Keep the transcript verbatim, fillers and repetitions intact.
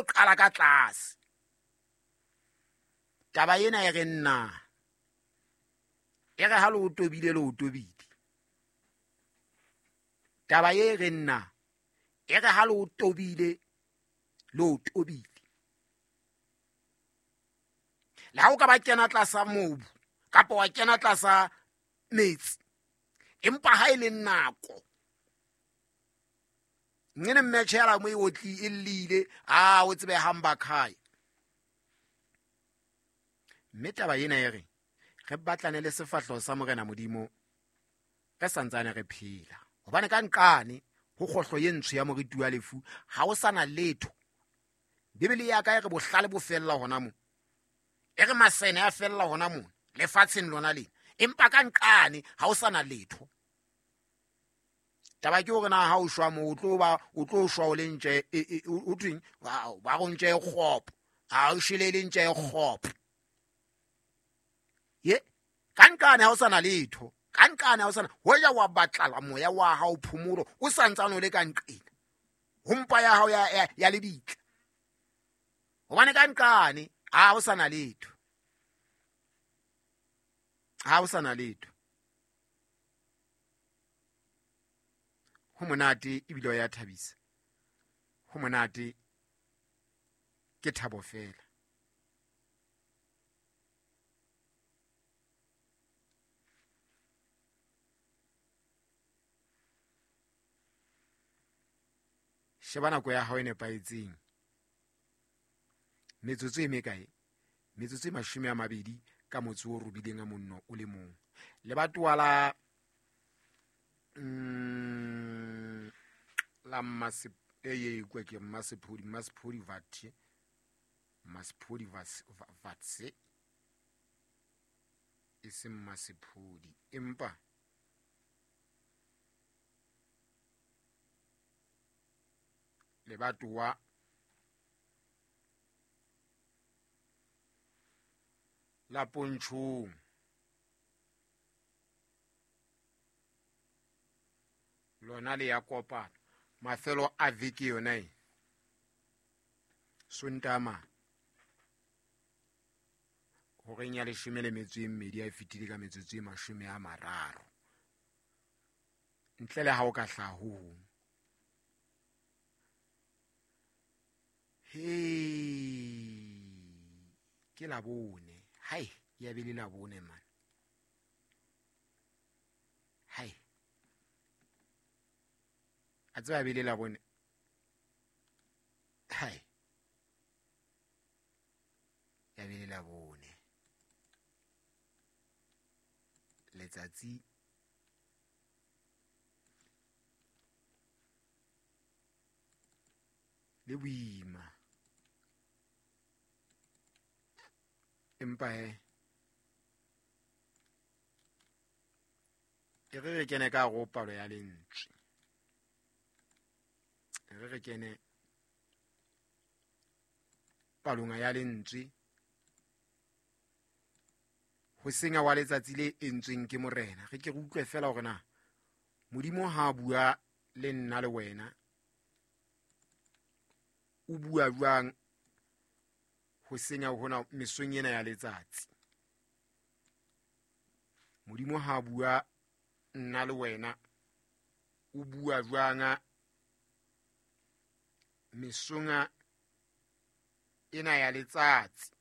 qala ka tlase. Taba ena e re nna e re ha le o tobile le o tobile. Taba e re nna e re ha le o tobile le o tobile. Le ha o ka ba kena tlasa mobu kapa wa kena tlasa metsi, empa ha e le nako ngene mmetjhela mo e otli e llile a o tsebe hamba khae. Mme taba ena e re re batlane le sefahleho sa Morena Modimo re santsane re phela, hobane ka nqane ho kgohlo ye ntsho ya moriti wa lefu ha o sana letho. Bibele ya ka e re bohlale bo fella hona mo, e re masene a fella hona mo lefatsheng lona lena, empa ka nqane ha o sana letho. Taba ke hore na ha o shwa mo o tlo ba o tlo shwa o le ntje o tweng ba go ntje e kgopo, ha o shwele le ntje e kgopo. Ye ka nqane ha o sana letho, ka nqane ha o sana hoja wa batlala moya wa hao phomolo o santsane o le ka nqena ho mpa ya hao ya ya lebitla, hobane ka nqane ha o sana letho, ha o sana letho. Ho monate ebile o ya thabisa, ho monate ke thabo fela. Sheba nako ya hao e nepahetseng, metsotso e mekae? Metsotso e mashome a mabedi ka motso o robileng a monno o le mong. Lebatowa la mm, la Mmasep e kwa ke Mmasephodi, Mmasephodi Vatse, Mmasephodi Vatse e se Mmasephodi, empa lebatowa la Pontshong lona le ya kopana mafelo a veke yona e Sontama horeng ya leshome le metso e mmedi a fetile ka metsotso e mashome a mararo, ntle le ha o ka hlaha ho hong. He ke Labone, hai ya be le Labone man, hai a tseba be le Labone, hai ya be le Labone. Letsatsi le boima, empa he e re re kene ka go palo ya lentswe, e re re kene palong ya lentswe ho senya wa letsatsi le entsweng ke Morena. Re ke re utlwe fela hore na Modimo ha bua le nna le wena o bua jwang ho senya hona mesong ena ya letsatsi. Modimo ha bua nna le wena o bua jwang mesong ena ya letsatsi.